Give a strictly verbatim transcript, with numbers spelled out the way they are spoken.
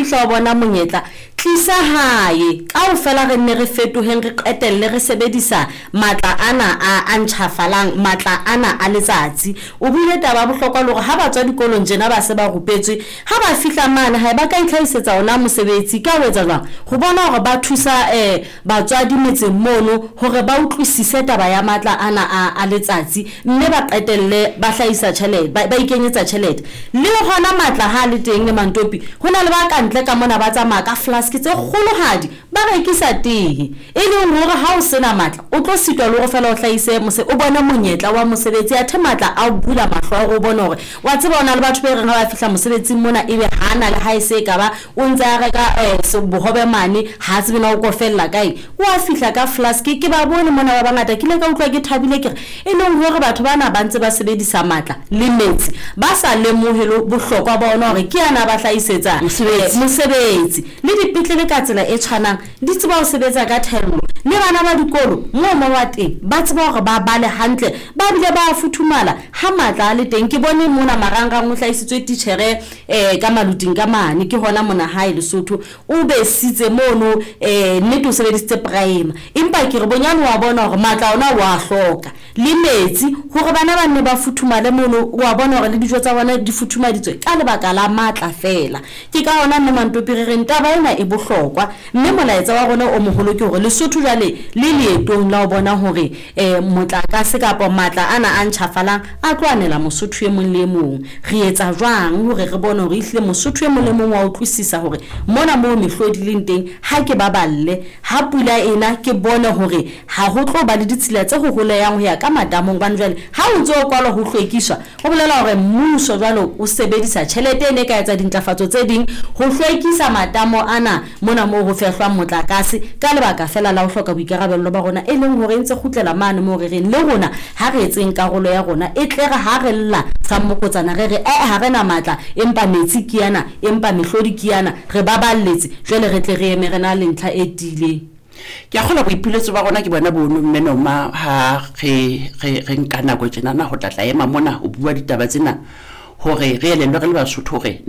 fihla o bona monyetla, tlisa hae. Kaofela re nne re fetoheng, re qetelle re sebedisa matla ana a a ntjhafalang, matla ana a letsatsi. O buile taba ya bohlokwa le hore ha ba tswa dikolong tjena ba se ba rupetswe, ha ba fihla mane hae ba ka itlhahisetsa ona mosebetsi. Ka ho etsa jwang? Ho bona hore ba thusa um batswadi metseng mono hore ba utlwisise taba ya matla ana a a letsatsi, mme ba qetelle ba hlahisa tjhelete, ba ikenyetsa tjhelete. Le hona matla ha le teng Mantopi, ho na le ba kantle ka mona ba tsamaya ka flask tse kgolohadi, ba rekisa tee, e leng hore ha o sena matla o tlo sitwa le hore fela o hlahise o bone monyetla wa mosebetsi. Athe matla a o bula mahlo a hore o bone hore wa tseba o na le batho be reng ha ba fihla mosebetsing mona, ebe ha na le ha e se e ka ba o ntse a reka bohobe mane, ha tsebe na o ko fella kae, o a fihla ka flask. Ke ba bone mona ba bangata, ke ile ka utlwa ke thabile, ke re e leng hore batho bana ba ntse ba sebedisa matla le metsi ba sa lemohe le bohlokwa ba ona hore ke ana ba hlahisetsa mosebetsi. Le dipetlele ka tsela e tshwanang di tseba ho sebetsa ka thello, le bana ba dikolo moo mo wa teng ba tseba hore ba bale hantle, ba bile ba futhumala ha matla a le teng. Ke bone mona marangrang o hlahisitswe titjhere um ka maluting ka mane, ke hona mona hae Lesotho, o besitse mono um nnete o sebedisitse prime, empa ke re bonyane wa bona hore matla ona wa hloka le metsi hore bana ba nne ba futhumale mono. Wa bona hore le dijo tsa bona di futhumaditswe ka lebaka la matla fela. Ke ka hona mme Mantopi re reng taba ena e bohlokwa, mme molaetsa wa rona o moholo ke hore Lesotho jwale le leetong la ho bona hore um motlakase kapa matla ana a ntjhafalang a tlo anela Mosotho e mong le e mong. Re etsa jwang hore re bone hore ehlile Mosotho e mong le mong wa utlwisisa hore mona moo mehlodi leng teng, ha ke baballe ha pula ena, ke bone hore ha ho tlo ba le ditshila tse hoholehang ho ya ka matamong, hobane jwale ha o ntso o kwalwa ho hlwekiswa, ho bolela hore mmuso jwale o sebedisa tjhelete e ne ka etsa dintlafatso tse ding ho hlwekisa matamo ana mona moo ho fehlwang motlakase, ka lebaka fela la ho hloka boikarabello ba rona, e leng hore e ntse kgutlela mane moo re reng le rona ha re etseng karolo ya rona, e tle re ha re lla sa mmokotsana re re ee ha re na matla, empa metsi ke ana, empa mehlodi ke ana, re baballetse jwale re tle re eme re na le ntlha e tiileng. Ke a kgolwa boipiletso ba rona ke bona bono, mme Noma, ha re re re nka nako tjenana ho tla tla ema mona ho bua ditaba tsena, hore re elellwe re le Basotho hore